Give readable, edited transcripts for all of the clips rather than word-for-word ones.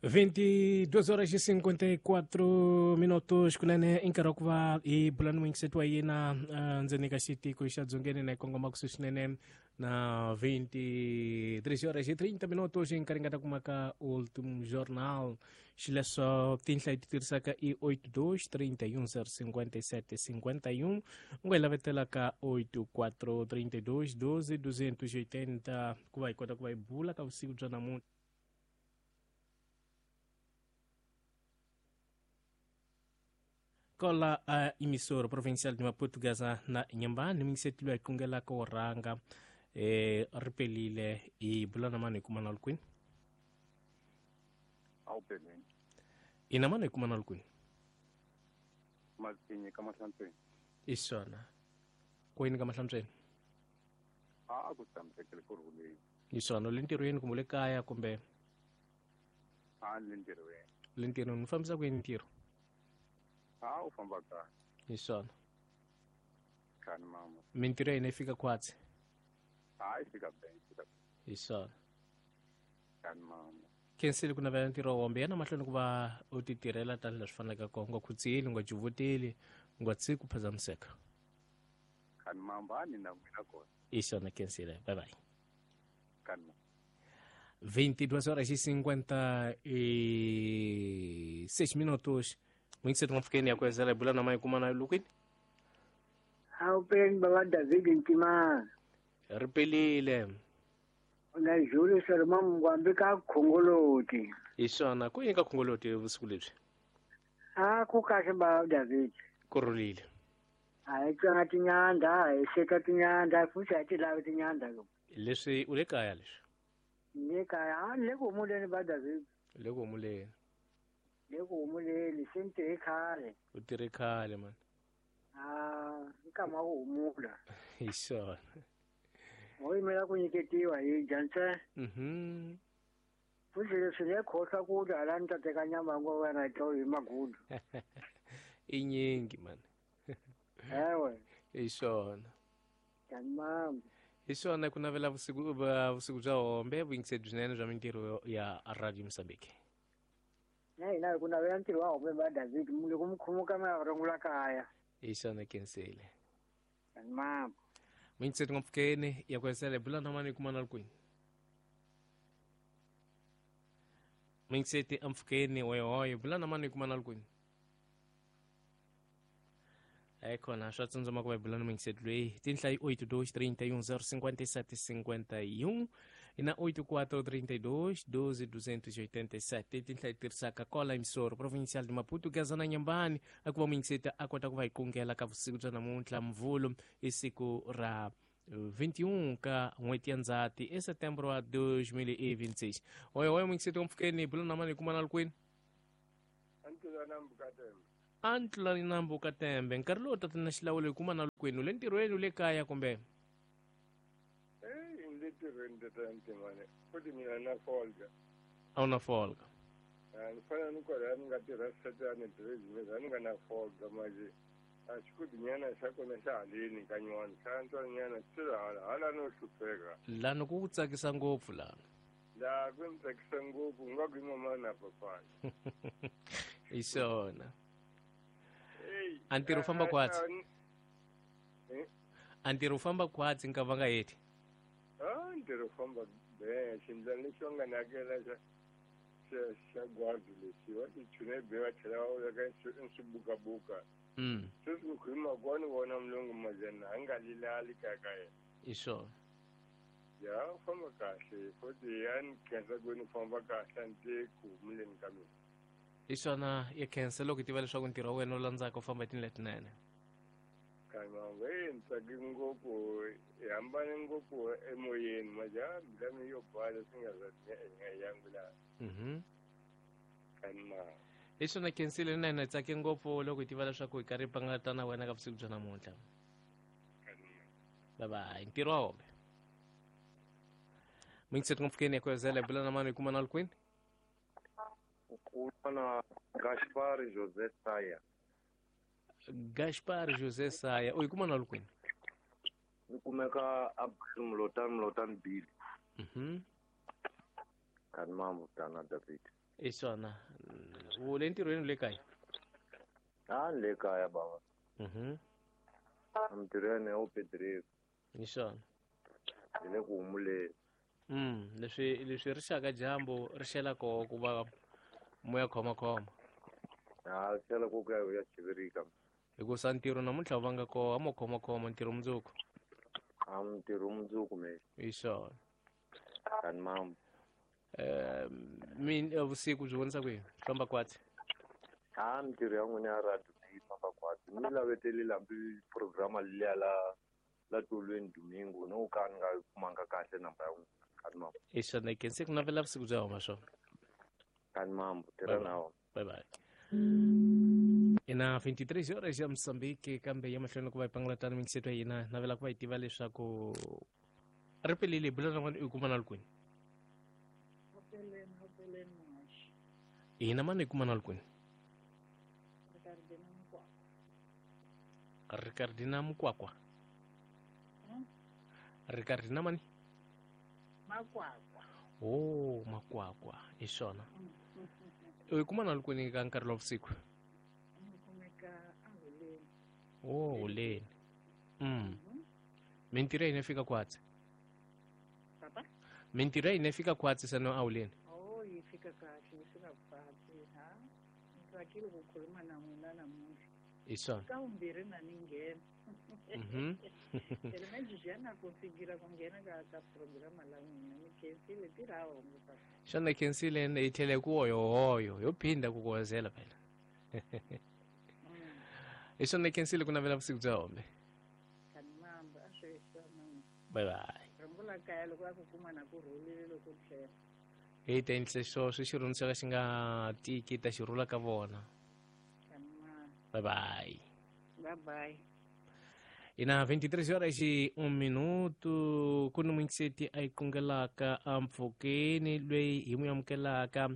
22 horas e 54 minutos kunene i nkarhi wa ku va hi bula ni muyingiseti wa yena ndzeni ka xitiko xa dzongeni na hi kongoma kusuhi swinene na 23 horas e 30 minutos i nkarhi nga ta kuma ka ultimo jornal. Xileswo tinhla hi ti tirhisaka i 82 31 057 51, u nga hi lavetela ka 84 32 12 280 ku va hi kota ku va hi bula ka vusiku bya namuntlha. Kola a emissora provincial de Maputo Gaza na Inhambane, muyingiseti loyi a qungelaka wo rhanga ri pelile hi bula na mani hi kuma na kwini? A wu peleni. Ina mani hi kuma na kwini? Matinyi ka Mahlantsweni. I swona. Kwini ka Mahlantsweni? A ku tshamisekile ku rhuleni. I swona, u le ntirhweni kumbe u le kaya kumbe? A ni le ntirhweni. Le ntirhweni, u fambisa ku yini ntirho? A u famba kahle. Hi swona. Khani mama. Mintirho ya hina yi fika khwatsi? A yi fika be, yi fika. Hi swona. Khani mama. Khensile ku navela ntirho wa wombe yana mahlweni ku va u ti tirhela tanihi leswi faneleke kona, u nga khutseli, u nga juvuteli, u nga tshiki ku phazamiseka. Khani mama, a ni na n'wina kona. Hi swona, khensile. Bye bye. Khani mama. 22 horas e 56 minutos. Muito mpfukeni ya kuwezela bula na mai kumana lukwini. Awupeni baba David Ntima. Ripelile. Na Julius Roma Mngwambi ka Khongoloti. Hi swona, ku yini ka Khongoloti vusiku lebyi? A ku kahle baba David. Ku rhulile. A hi tswanga tinyandza, a hi seka tinyandza, futhi a hi ti lavi tinyandza lo. Leswi u le kaya leswi? Le kaya, a le ku humuleni ba David. Le ku humuleni. Le ku humuleni, se ni tirhe khale. U tirhe khale man. Ah, nkama wa ku humula. Hi swona. Ho yimela ku nyiketiwa hi dya ntsena. Futhi leswi le khohlwa ku dya hala ni ta teka nyama ya ngova na yi hi magudu. I nyingi man. Ewe. Hi swona. Tamam. Hi swona ku navela vusiku vusiku bya hombe vuyingiseri byinene bya mintirho ya Radio Mozambique. Na hina hi ku navela ntirho wa hombe ba David loko mi khumuka mi ya rungula kaya. Hi swona khensile. Tamam. Muyingiseri ngopfukeni ya ku hesela hi bula na mani kuma na kwini. Muyingiseti ampfukeni hoye bula na mani kuma na kwini. Khona swa tsundzuma ku va hi bula na muyingiseti loyi tinhla yi 8 2 31 057 51 na 8 4 32 12 287 tinhla yi tirhisaka kola emissora provincial de Maputo Gaza na Inhambane a ku va muyingiseti a kota ku va hi kungela ka vusiku bya namuntlha Mvhulu i siku ra 21 ka n'hweti ya Ndzhati e setembro wa 2026. Hoye hoye muyingiseti wa mpfukeni bula na mani kuma na kwini? A ntlulani nambu ka tembe nkarhi lowu tatana xilawulo hi kuma na kwini, u le ntirhweni, u le kaya kumbe? Le ntirhweni tatana Ntimane, futhi mina na folga. A wu na folga? Ni fanele ni kwalaya ni nga tirha satani business, a ni nga na folga manje a xikudinyana xa kona xa haleni ka nywana xa antswanyana swi hala hala no hlupheka. Lani ku ku tsakisa ngopfu lani? La ku ni tsakisa ngopfu nga ku i mama na papana. Hi swona. A ntirho u famba khwatsi? A ntirho u famba khwatsi nka va nga heti? A ntirho u famba be, xindlwana lexi va nga ni hakela xa xa gwadi lexi va xi chune be va tlhela va veka swibukabuka. Sweswi ku khuluma ko ni vona mulungu majana a nga lilali kaya ka yena. Hi swona. Ya u famba kahle futhi ya ni khensa ku ni famba kahle a ni te ku humuleni ka mina. Hi swona ya khensa loko hi tiva leswaku ntirho wa wena wu landzaka u famba hi tindlela letinene. Kan'we ni tsake ngopfu hi hambane ngopfu emoyeni manje a mbilu ya yo bala swi nga za nga yangu laha. Kan'we. Hi swona khensile na hina hi tsake ngopfu loko hi tiva leswaku hi karhi hi pangata na wena ka vusiku bya namuntlha. Bye bye. Ntirho wa hombe. Muyingiseti ngopfukeni ya kwezela hi bula na mani hi kuma na kwini? Ukubona Gaspar José Saya. Gaspar José Saya, u yi kuma na kwini? Ni kumeka a Mlotani Mlotani Bill. Kani mambo tana David. I swona. U le ntirhweni le kaya? A le kaya baba. Ntirhweni o Pedrico. Hi swona. Hi le ku humuleni. Leswi ri xaka dyambu ri xela koho ku va moya khomakhoma. A xela ku ku ya chivirika. Hikusa ntirho namuntlha wu vanga koho a mo khomakhoma ntirho mundzuku. A ntirho mundzuku me. Hi swona. Kani mambo. Min vusiku byi vonisa ku yini? Famba kwatsi. A mintirho ya n'wina ya radio yi famba kwatsi. Mi lavetele hambi programa liya la tolweni domingo no ka ni nga kumanga kahle namba ya n'wina. Kani mambo. Hi swona ke se ku navela vusiku bya huma swona. Kani mambo tirha na wona. Bye bye. Ina 23 horas ya Mozambique kambe ya mahlweni ku va hi pangalatana mingiseto ya hina navela ku va hi tiva leswaku ri pelele bula na n'wana i kuma na kwini. Hina mani hi kuma na kwini. Ricardina Mukwakwa. Ricardina mani? Makwakwa. Oh, Makwakwa. Hi swona. U kuma na kwini ka nkarhi wa vusiku? Oh, huleni. Mintirho ya hina fika kwatsi. Papa? Mintirho ya hina fika kwatsi sano a huleni. Oh, yi fika kahle, yi fika kwatsi, ha? Ni tsakile ku khuluma na n'wina namuntlha. Hi swona. Ka vumbirhi na ni nghena. Phela manje já na conseguira ku nghena ka programa la n'wina ni khensile tirha hongo papa. Xana khensile hi tlhele ku hoyohoyo yo phinda ku kuhozela phela. Hi swona khensile ku navela vusiku bya hombe. Kani mambo a swi swona. Bye bye. Rungula kaya loko a ku kuma na ku rhulile loko tlhela. Hi ta endlisa sweswo xirhundzu xa ka xi nga tiki ta xi rhula ka vona. Bye bye. Bye bye. Ina 23 horas e 1 minuto ku ni muingiseti a yi kungelaka ampfhukeni loyi hi n'wi amukelaka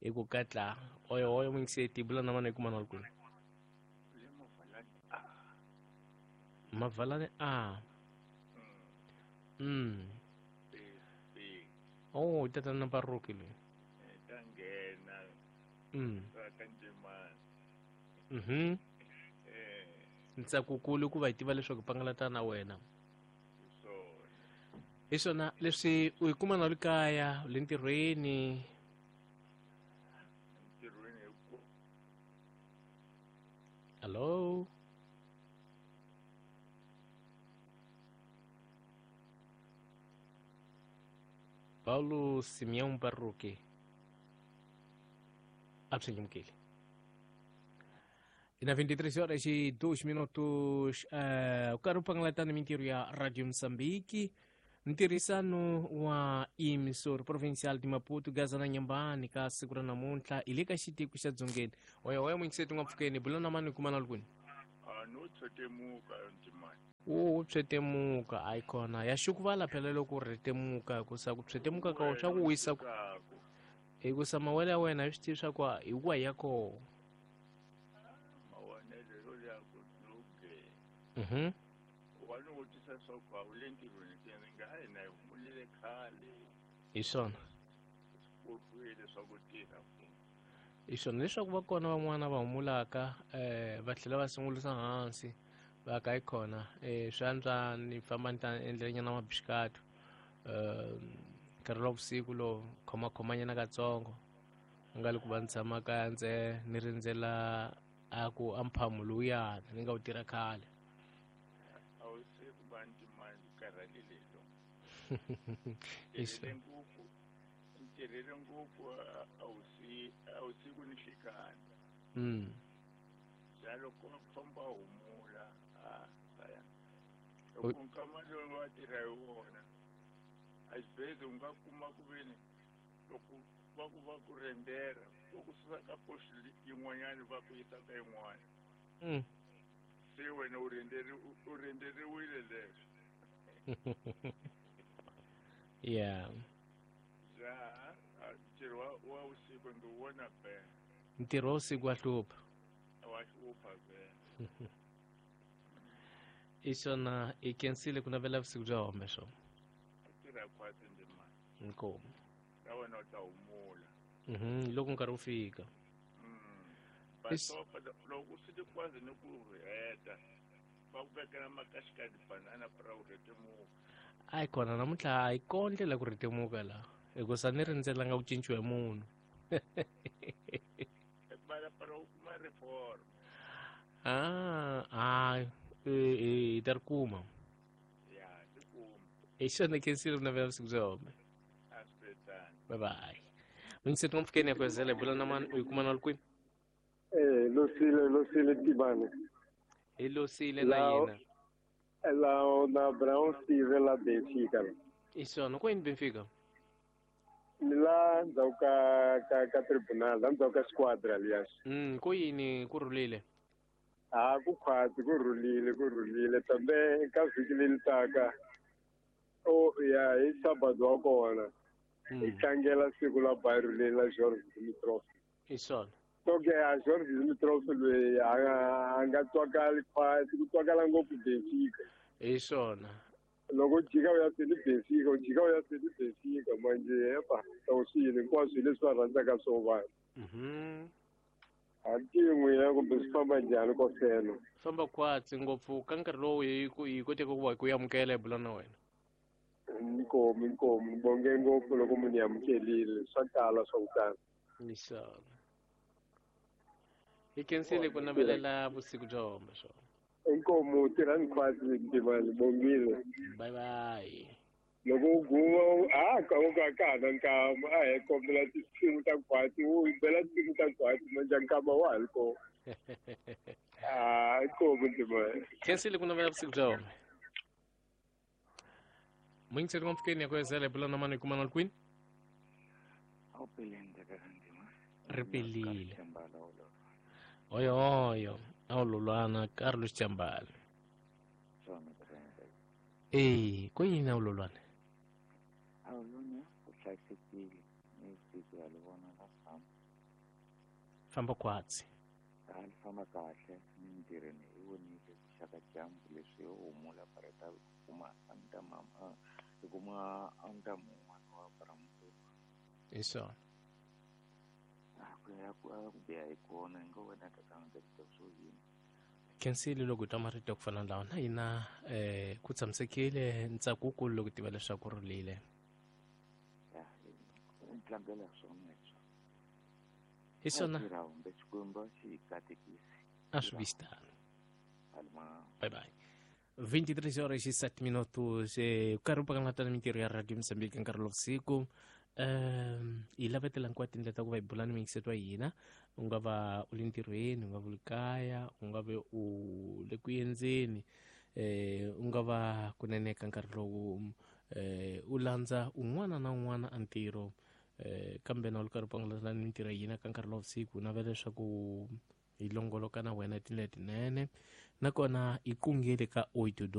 hi ku katla oyo oyo muingiseti bula na mana hi kuma na kwini. Mavalani a. Oh, tatana Baruki loyi. Ta nghena. Ka Ntimani. Ntsakukulu ku va hi tiva leswaku pangalata na wena. Hi swona leswi u yi kuma na le kaya le ntirhweni. Hello. Paulo Simeão Barroque. Absolutamente. E na 23 horas e 2 minutos, o caro pangalatana mintirho ya Radio Moçambique, ntirhisano wa emissor provincial de Maputo, Gaza na Nyambani, ka siku ra namuntlha, hi le ka xitiko xa Dzongeni. Oya oya muingiseti n'wa pfukeni, bula na mani kuma na kwini. A no tshetemuka ntimani. O tshetemuka a yi kona ya xukuvala phela loko ri temuka hikusa ku tshetemuka ka swa ku wisa hikusa mawele ya wena hi swi tivi swa ku hi ku ya koho. Hi swona. Hi swona leswaku va kona van'wana va humulaka va tlhela va sungulisa hansi va ka yi kona swi antswa ni famba ni ta endlelanyana mabixikatu nkarhi wa vusiku lowu khomakhomanyana katsongo nga le ku va ni tshama kaya ndze ni rindzela a ku a mphamu lowuyana ni nga wu tirha khale. Ntirhele ngopfu a wusiku ni nhlikani. Ja loko famba humula a saya. Loko nkama lowu va tirha hi wona a xibedhlele u nga kuma ku veni loko va ku va ku rendera va ku susa ka post yin'wanyana va ku yisa ka yin'wana. Se wena u renderiwile leswo. Yeah. Ja, ntirho wa usiku ndzi wu vona be. Ntirho wa usiku wa hlupha. Wa hlupha be. I swona i khensile ku navela vusiku bya home swona. Tirha khwatsi ndzimana. Inkomu. Ka wena u ta humula. Loko nkarhi wu fika. Basopa loko swi ti kwazi ni ku heta va ku vekela makaxikadi banana pra u rhetemuka. A yi kona namuntlha a yi kona ndlela ku rhetemuka laha hikusa ni rindzelanga ku cinciwa hi munhu. Bala para u kuma reform. Hi ta ri kuma. Ya, ti kuma. Hi xona khensile ku navela vusiku bya home. A swi tano. Bye bye. Muyingiseti n'wampfhukeni ya kwezela hi bula na mani u yi kuma na kwini? Losile Tibane. Hi Losile na yena. La na Brown Steve la Benfica. I swona ku yini Benfica? Ni la ndzhaku ka tribunal, la ndzhaku ka squadra liya. Ku yini ku rhulile? A ku khwatsi ku rhulile kambe ka vhiki leri taka o ya hi Sabado wa kona. Hi tlangela siku la Bayern leri la George Dimitrov. I swona. So ke a George Dimitrov loyi a nga twakali khwatsi ku twakala ngopfu Benfica. Hi swona. Loko jika u ya seni Benfica, u jika u ya seni Benfica manje epa tawusini hinkwaswo hi leswi va rhandzaka swo vanhu. A tin'wina kumbe swi famba njhani ko felo? Famba khwatsi ngopfu ka nkarhi lowu hi koteke ku va ku amukela hi bula na wena. Inkomu ni bonge ngopfu loko munhu amukelile swa tala swa ku tala. Hi swona. Hi khensile ku navelela vusiku bya home swona. Inkomu tirhani khwatsi Ntimani bongile. Bye bye. Loko u guma a ka u ka ka na nkama a hi kombela tinsimu ta khwatsi u bela tinsimu ta khwatsi manje nkama wa ha ri kona. Inkomu Ntimani. Khensile ku navela vusiku bya home. Muyingiseri n'wampfhukeni ya kwezela hi bula na mani hi kuma na kwini? Ri pelile. Oyo a wu lolwana Carlos Chambala. Ku yini a wu lolwana? A wu lolwana u hlayisekile ni siku ya vona la famba. Famba khwatsi. A li famba kahle ni ntirhweni i vonile ku xaka dyambu leswi yo humula pareta kuma anta mama i kuma anta mun'wana wa Bramutuku. Hi swona. Ku ya ku biha hi kona hi nga wena tatana ta swo yini. Khensile loko hi twa marito ya ku fana na lawa na hina ku tshamisekile ntsako wukulu loko tiva leswaku rhulile. Ya, tlangela swona leswi. Hi swona. Xikwembu xi katekisi. A swi vi xitano. Bye bye. 23 horas e 7 minutos. Nkarhi wu pakanata na mintirho ya Radio Mozambique nkarhi lowu vusiku. Hi lavetela hinkwato tindlela ta ku va hi bula ni muyingiseti wa hina. U nga va u le ntirhweni, u nga va u le kaya, u nga va u le ku endzeni, u nga va kunene ka nkarhi lowu u landza un'wana na un'wana a ntirho, kambe na u ri karhi u pangalata ni mintirho ya hina ka nkarhi lowu vusiku. Navela leswaku hi longoloka na wena tindlela tinene nakona hi kungele ka 82